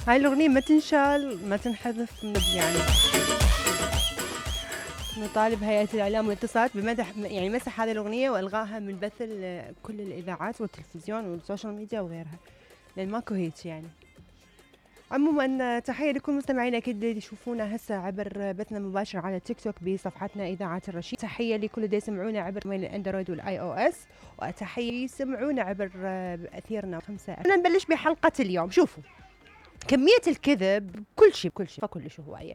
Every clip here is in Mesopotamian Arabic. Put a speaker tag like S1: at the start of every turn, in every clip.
S1: هاي الأغنية ما تنشال ما تنحذف من يعني. نطالب هيئة الإعلام والاتصالات بمدح يعني مسح هذه الأغنية وإلغائها من بث كل الإذاعات والتلفزيون والسوشيال ميديا وغيرها، لأن ماكو هيك يعني. عموما تحية لكل مستمعينا أكيد يشوفونا هسه عبر بثنا المباشر على تيك توك بصفحتنا إذاعة الرشيد. تحية لكل اللي يسمعونا عبر الأندرويد والآي أو إس، وتحية يسمعونا عبر أثيرنا 5. نبلش بحلقة اليوم. شوفوا كمية الكذب كل شيء فكل هواية.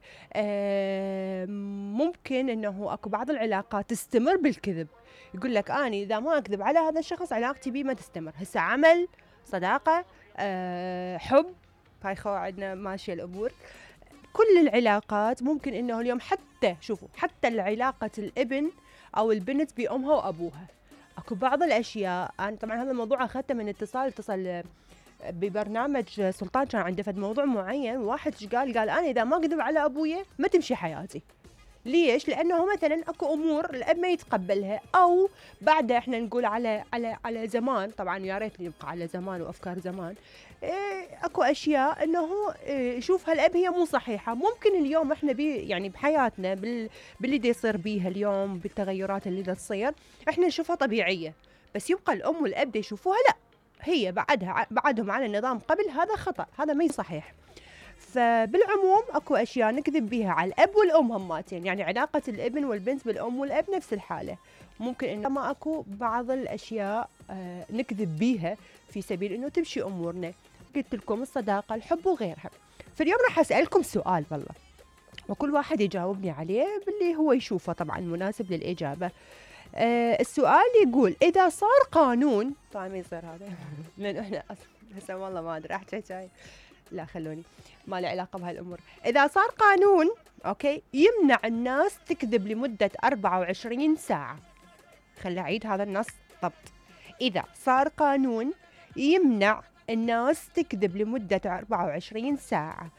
S1: ممكن انه اكو بعض العلاقات تستمر بالكذب، يقول لك اني اذا ما اكذب على هذا الشخص علاقتي بيه ما تستمر. هسه عمل، صداقة، حب، هاي عندنا ماشية الامور. كل العلاقات ممكن انه اليوم حتى شوفوا حتى العلاقة الابن او البنت بامها وابوها، اكو بعض الاشياء. انا طبعا هذا الموضوع اخذته من اتصل ببرنامج سلطان، كان عنده فد موضوع معين، واحد قال انا اذا ما اكذب على ابويا ما تمشي حياتي. ليش؟ لانه مثلا اكو امور الاب ما يتقبلها، او بعدها احنا نقول على زمان، طبعا يا ريت يبقى على زمان وافكار زمان. اكو اشياء انه يشوفها الاب هي مو صحيحه. ممكن اليوم احنا يعني بحياتنا باللي دا يصير بيها اليوم، بالتغيرات اللي دا تصير احنا نشوفها طبيعيه، بس يبقى الام والاب دا يشوفوها لا، هي بعدهم على النظام قبل، هذا خطأ، هذا ما صحيح. فبالعموم اكو اشياء نكذب بيها على الاب والام هماتين، يعني علاقة الابن والبنت بالام والاب نفس الحالة. ممكن انه ما اكو بعض الاشياء نكذب بيها في سبيل انه تمشي امورنا. قلت لكم الصداقة، الحب وغيرها. فاليوم راح اسألكم سؤال والله، وكل واحد يجاوبني عليه باللي هو يشوفه طبعا مناسب للإجابة. السؤال يقول إذا صار قانون، طبعا ما يصير هذا لأن إحنا هسه والله ما أدري أحكي شيء، لا خلوني ما له علاقة بهالأمور. إذا صار قانون أوكي يمنع الناس تكذب لمدة 24 ساعة، خلي أعيد هذا النص ضبط. إذا صار قانون يمنع الناس تكذب لمدة 24 ساعة،